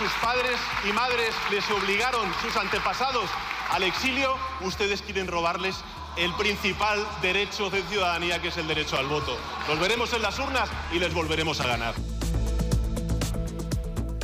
sus padres y madres les obligaron sus antepasados al exilio, ustedes quieren robarles el principal derecho de ciudadanía, que es el derecho al voto. Los veremos en las urnas y les volveremos a ganar.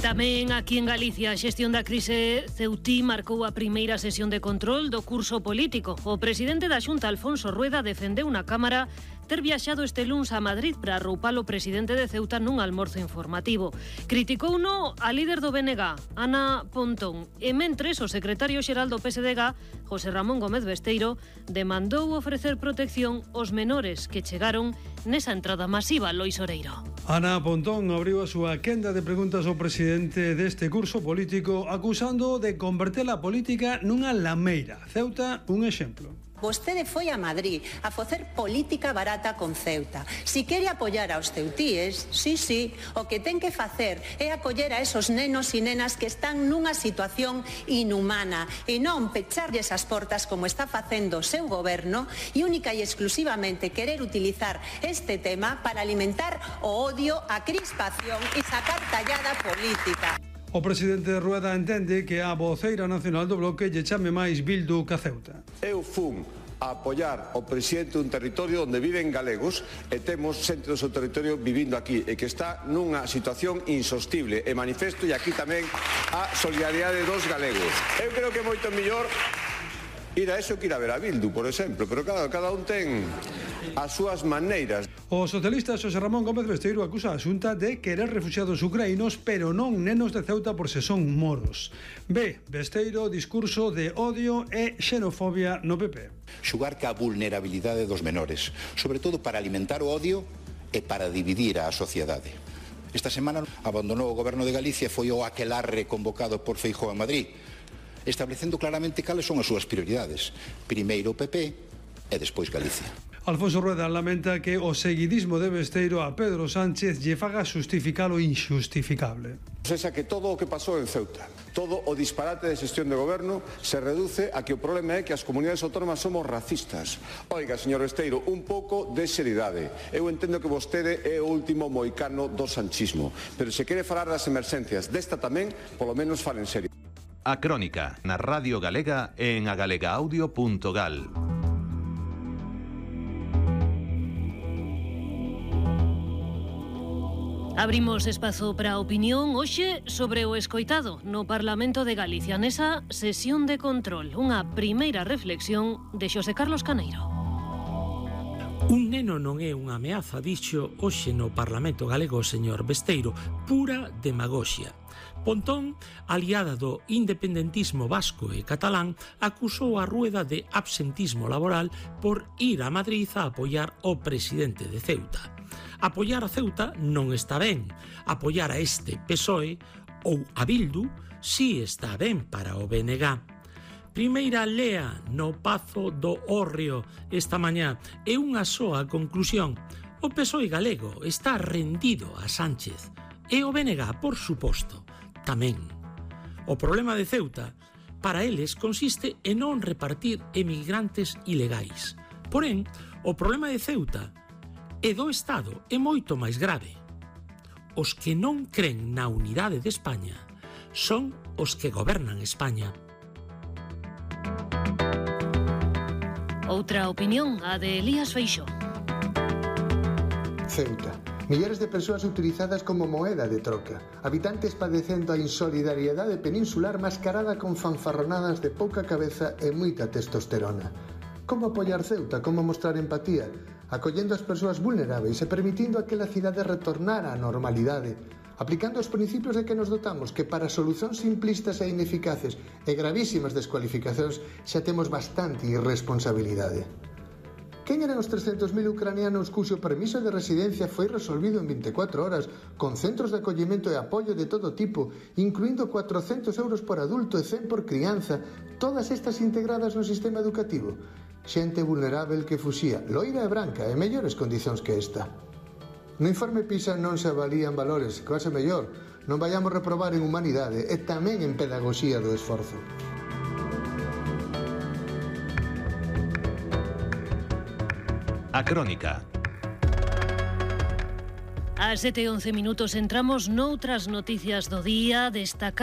Tamén aquí en Galicia a xestión da crise ceutí marcou a primeira sesión de control do curso político. O presidente da Xunta, Alfonso Rueda, defendeu na Cámara ter viaxado este luns a Madrid para arroupar o presidente de Ceuta nun almorzo informativo. Criticouno a líder do BNG, Ana Pontón, e mentres o secretario xeral do PSDG, José Ramón Gómez Besteiro, demandou ofrecer protección aos menores que chegaron nesa entrada masiva, Lois Oreiro. Ana Pontón abriu a súa quenda de preguntas ao presidente deste curso político, acusando de converter a política nunha lameira. Ceuta, un exemplo. Vostede foi a Madrid a facer política barata con Ceuta. Si quere apoiar aos ceutíes, sí, o que ten que facer é acoller a esos nenos e nenas que están nunha situación inhumana e non pecharlles as portas como está facendo o seu goberno e única e exclusivamente querer utilizar este tema para alimentar o odio, a crispación e sacar tallada política. O presidente Rueda entende que a voceira nacional do bloque lle chame máis Bildu que a Ceuta. Eu fun a apoiar o presidente dun territorio onde viven galegos e temos xente do seu territorio vivindo aquí e que está nunha situación insostible e manifesto e aquí tamén a solidaridade dos galegos. Eu creo que é moito mellor ir a eso que ir a ver a Bildu, por exemplo, pero claro, cada un ten as súas maneiras. O socialista José Ramón Gómez Besteiro acusa a Xunta de querer refuxiados ucraínos, pero non nenos de Ceuta por se son moros. Besteiro, discurso de odio e xenofobia no PP. Xugar ca vulnerabilidade dos menores, sobre todo para alimentar o odio e para dividir a sociedade. Esta semana abandonou o goberno de Galicia e foi o aquelarre convocado por Feijóo en Madrid, establecendo claramente cales son as súas prioridades. Primeiro o PP e despois Galicia. Alfonso Rueda lamenta que o seguidismo de Besteiro a Pedro Sánchez lle faga justificar o injustificable. Sexa que todo o que pasou en Ceuta, todo o disparate de xestión de goberno se reduce a que o problema é que as comunidades autónomas somos racistas. Oiga, señor Besteiro, un pouco de seriedade. Eu entendo que vostede é o último moicano do sanchismo, pero se quere falar das emerxencias desta tamén, polo menos fale en serio. A Crónica, na Radio Galega e en agalegaudio.gal. Abrimos espazo para a opinión hoxe sobre o escoitado no Parlamento de Galicia nesa sesión de control. Unha primeira reflexión de Xosé Carlos Caneiro. Un neno non é unha ameaza, dixo hoxe no Parlamento galego o señor Besteiro, pura demagoxia. Pontón, aliada do independentismo vasco e catalán, acusou a Rueda de absentismo laboral por ir a Madrid a apoiar o presidente de Ceuta. Apoiar a Ceuta non está ben. Apoiar a este PSOE ou a Bildu si está ben para o BNG. Primeira lea no Pazo do Hórreo esta mañá e unha soa conclusión. O PSOE galego está rendido a Sánchez e o BNG, por suposto, tamén. O problema de Ceuta para eles consiste en non repartir emigrantes ilegais. Porén, o problema de Ceuta e do Estado é moito máis grave. Os que non cren na unidade de España son os que gobernan España. Outra opinión, a de Elías Feixóo. Ceuta. Milhares de persoas utilizadas como moeda de troca. Habitantes padecendo a insolidariedade peninsular mascarada con fanfarronadas de pouca cabeza e moita testosterona. Como apoiar Ceuta? Como mostrar empatía? Acollendo as persoas vulneráveis e permitindo a que a cidade retornar á normalidade, aplicando os principios de que nos dotamos, que para solucións simplistas e ineficaces e gravísimas descualificacións xa temos bastante irresponsabilidade. Quen eran os 300.000 ucranianos cuxo permiso de residencia foi resolvido en 24 horas, con centros de acollemento e apoio de todo tipo, incluindo 400 euros por adulto e 100 por crianza, todas estas integradas no sistema educativo? Xente vulnerável que fuxía, loira e branca, e mellores condicións que esta. No informe PISA non se avalían valores, quase mellor, non vayamos reprobar en humanidade e tamén en pedagogía do esforzo. A Crónica. Ás 7:11 entramos noutras noticias do día, destacar